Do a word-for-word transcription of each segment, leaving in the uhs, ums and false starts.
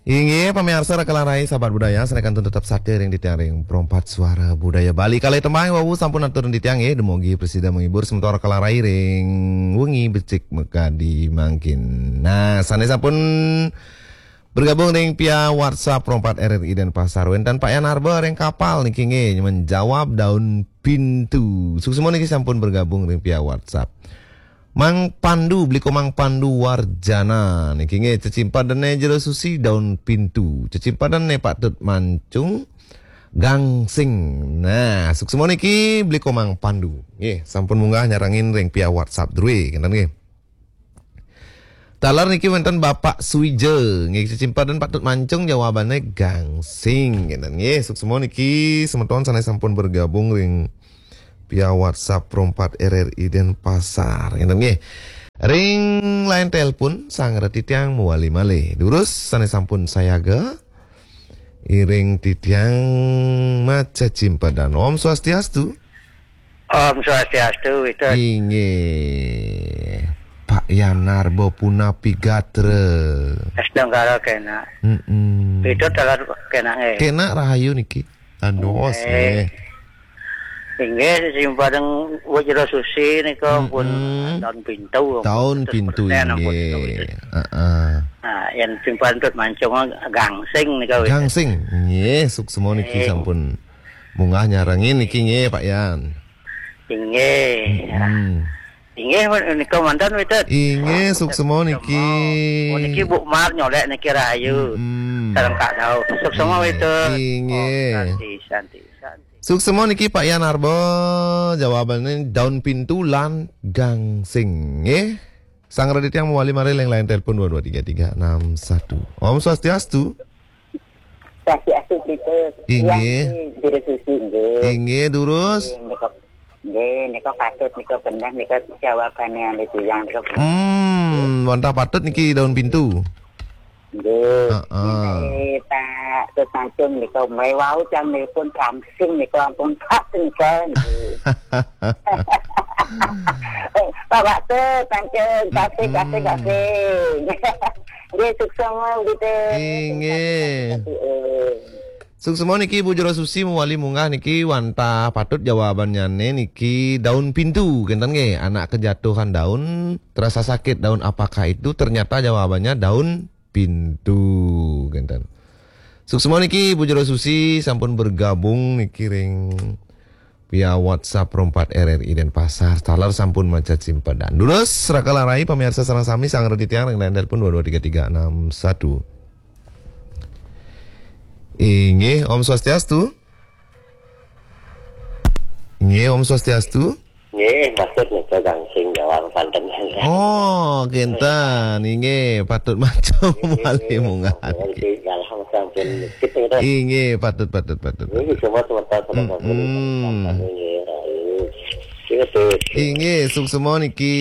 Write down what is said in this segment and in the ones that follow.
Inggih, pamiarsa Raka Larai, sahabat budaya, sané kantun tetep satia ring titiang ring Perempat Suara Budaya Bali. Kalih tembang wau sampun atur ring titiang nggih, dumugi prasida menghibur semeton Raka Larai ring wengi becik makadi mangkin. Nah, sané sampun bergabung ring via WhatsApp Perempat R R I Denpasar, wénten Pak Yan Arba ring kapal niki nggih, menjawab daun pintu. Suksma niki sampun bergabung ring via WhatsApp. Mang Pandu, Bliko Mang Pandu Warjana niki nggih, cecimpedané Jero Susi, daun pintu. Cecimpedané Pak Tut Mancung, gangsing. Nah, suksma niki Bliko Mang Pandu. Nggih, sampun munggah nyarengin ring via WhatsApp drué, kénten nggih. Taler niki wénten Bapak Suija, nggih, cecimpedan Pak Tut Mancung, jawabané gangsing, kénten nggih. Suksma niki semeton sané sampun bergabung ring via WhatsApp Perempat R R I Denpasar, kénten nggih. Ring line telepon, sang reti tiang mawali malih. Durus sané sampun sayaga, iring titiang macecimpedan. Om Swastiastu. Om Swastiastu, Witut. Inggih. Pak Yan Arba punapi gatra? Astungkara kénak. Mm-mm. Witut taler kénak nggih. Kénak rahayu niki. Andos nggih. Inggih, cecimpedan Jero Susi nika pun daun pintu. Daun pintu, seratus persen ampun nika, Witut. Heeh. Nah, yén cecimpedan Tut Mancung gangsing nika, Witut. Gangsing. Nggih, suksma niki sampun munggah nyarengin niki nggih, Pak Yan. Inggih. Mm-mm. Inggih, nika manten, Witut. Inggih, suksma niki. Oh, niki Bu Mar nyolék niki rahayu. Mm-mm. Sareng Kak Daud. Suksma, Witut. Inggih. Oh, santi, santi, santi. Suksma niki Pak Yan Arba, jawabané daun pintu lan gangsing, nggih. Sang reti tiang mawali malih ring line telepon dua dua tiga tiga enam satu. Om Swastiastu. Swastiastu, Witut. Inggih. Tiang niki Jero Susi nggih. Inggih, durus. Nggih, nika, nggih, nika patut, nika bener, nika jawabané anu titiang nika. Hmm, wantah patut niki daun pintu. Nggih. Heeh. Nggih, Pak Tut Mancung nika, mriki wau tiang nelpon gangsing nika ampun pas nika, nggih. Pak Tut Mancung, kasih, kasih, kasih. Nggih, suksma, nggih. Inggih. Suksma niki Ibu Jero Susi mawali munggah niki, wantah patut jawabannyané niki daun pintu, kénten nggih, anak kejatuhan daun, terasa sakit daun, apakah itu? Ternyata jawabannya daun pintu, kénten. Suksma niki Ibu Jero Susi sampun bergabung niki ring via WhatsApp Perempat R R I Denpasar, taler sampun macecimpedan. Durus, Raka Larai, pamiarsa sareng sami, sang reti tiang ring line telepon dua dua tiga tiga enam satu. Inggih, Om Swastiastu. Inggih, Om Swastiastu. Nggih, maksud nika gangsing jawab panten. Oh, kénten. Inggih, patut mancung malih munggah. Nggih, dalam sampun kita. Inggih, patut, patut, patut. Nggih, semua semeton, semeton. Mm-mm. Nggih, rahayu. Nggih, Tut. Inggih, suksma niki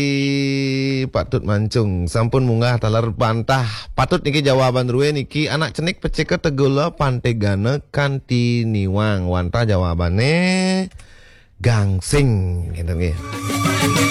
Pak Tut Mancung. Sampun munggah taler, wantah patut niki jawaban drué niki, anak cenik pecika tegula pantegana kanti niwang. Wantah jawabané gangsing, kénten nggih.